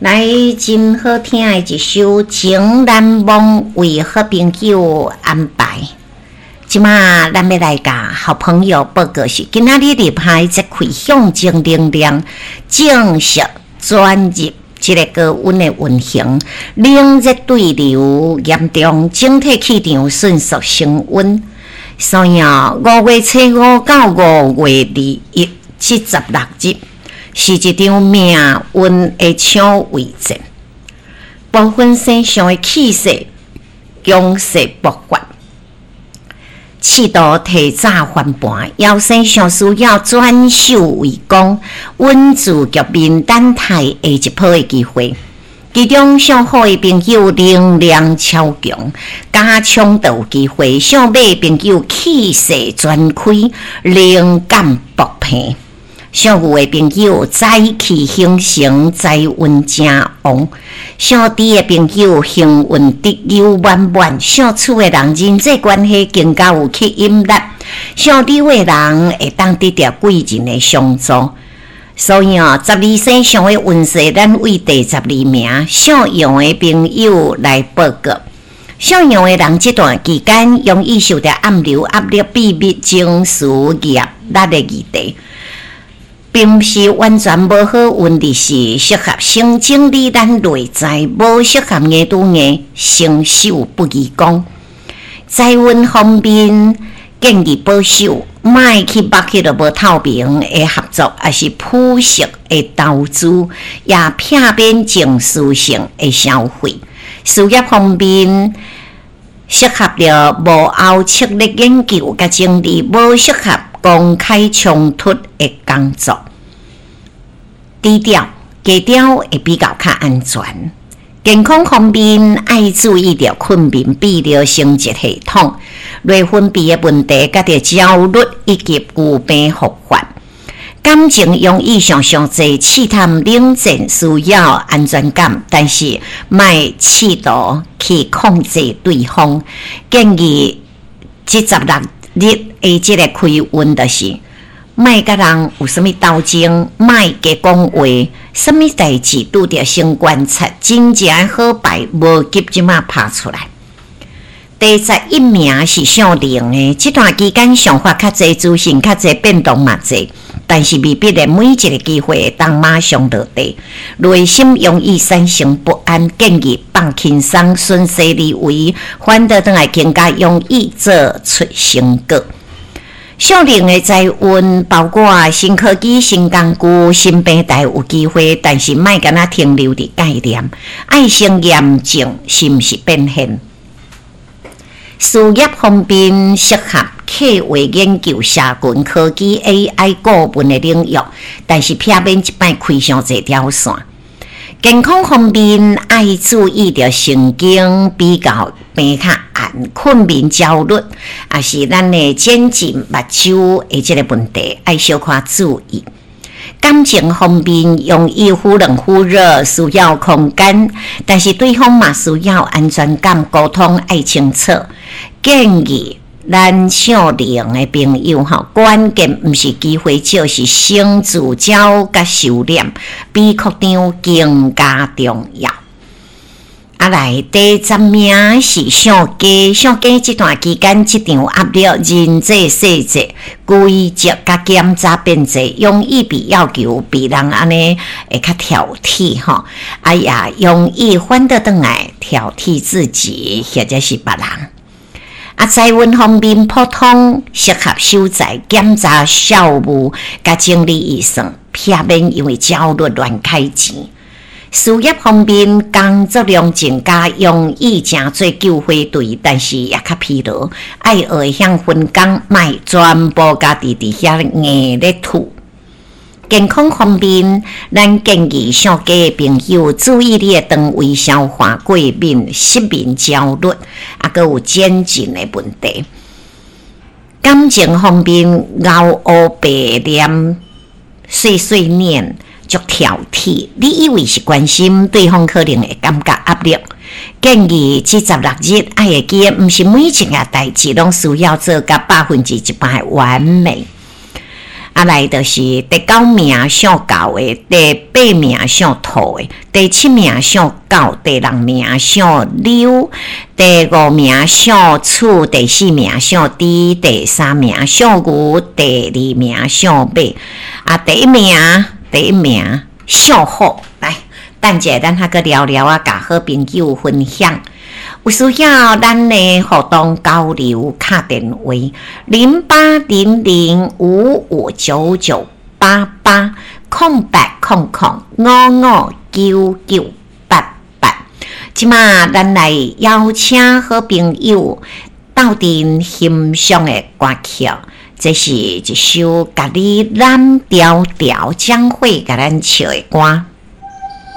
來，真好聽的一首《情難忘》為好朋友安排。這馬咱欲來共好朋友報告是，今仔日入海這氣象正能量正式轉入這个高溫的運行，冷熱對流嚴重，整體氣場迅速升溫。所以啊，5月初5到5月21，這16日是一場命運的搶位戰，部分星象的氣勢強勢爆發，試圖提早翻盤。夭星象需要轉守為攻，穩住局面，等待下一波的機會。其中屬虎的朋友能量超強，加衝就有機會；屬馬的朋友氣勢全開，靈感爆棚。屬牛的朋友財氣興盛，財運誠旺；屬豬的朋友幸運得有滿滿；屬鼠的人人際關係更加有吸引力；屬牛的人會當得著貴人的相助。所以哦，十二生肖的運勢，咱為第十二名屬羊的朋友來報告。屬羊的人這段期間容易受著暗流壓力、秘密、情緒、業力的議題。並毋是完全無好運，而是適合先整理咱內在，無適合硬拄硬，成手不宜講。財運方面建議保守，莫去捌彼个無透明的合作，抑是浮實的投資，也避免情緒性的消費。事業方面適合著幕後策略研究佮整理，無適合公開衝突的工作，低調低調會比較較安全。健康方面愛注意著睏眠、泌尿生殖系統、內分泌的問題，佮著焦慮以及舊病復發。感情容易想傷濟，試探冷戰需要安全感，但是莫試圖去控制對方。建議這十六日的這个開運就是，莫佮人有啥物鬥爭，莫加講話，啥物代誌拄著先觀察，真正的好牌無急這馬拍出來。第十一名是屬龍的，這段期間想法較濟，資訊較濟，變動嘛濟，但是未必咧每一个機會會當馬上落地，內心容易產生不安，建議放輕鬆，順勢而為，反倒轉來更加容易做出成果。屬龍的財運包括新科技、新工具、新平台有機會，但是莫干焦停留佇概念，愛先驗證是毋是變現。事業方面適合計畫研究、社群科技、AI 顧問的領域，但是避免這擺開傷濟條線。健康方面愛注意著神經比較病較絚、睏眠焦慮，抑是咱的眼睛目睭的這个問題，愛小可注意。感情方面容易忽冷忽熱，需要空間，但是對方嘛需要安全感，溝通愛清楚。建議咱屬龍的朋友吼，關鍵毋是機會少，是先聚焦佮收斂，比擴張更加重要。啊來，第十名是屬雞，屬雞這段期間職場壓力、人際細節、規則佮檢查變濟，容易被要求，比人按呢會較挑剔吼，啊也容易反倒轉來挑剔自己或者是別人。啊，財運方面普通，適合守財、檢查校務、佮整理預算，避免因為焦慮亂開錢。事業方面，工作量增加，容易成做救火隊，但是也較疲勞。愛學會曉分工，莫全部家己佇遐硬咧吐。健康方面，咱建議屬雞的朋友注意你的腸胃消化過敏、失眠、焦慮，抑閣有肩頸的問題。感情方面，𠢕烏白臉、碎碎念。足挑剔，你以為是關心，對方可能會感覺壓力。建議這十六日愛會記得，毋是每一件代誌攏需要做甲100%的完美。啊來就是第九名姓猴的，第八名姓兔的，第七名姓狗，第六名姓牛，第五名姓鼠，第四名姓豬，第三名姓牛，第二名姓馬，啊，第一名，第一名姓虎。來，等者咱還閣聊聊啊，共好朋友分享。有需要咱的互動交流，敲電話08005599880800559988。這馬咱來邀請好朋友鬥陣欣賞的歌曲，這是一首共你攬牢牢將會共咱唱的歌。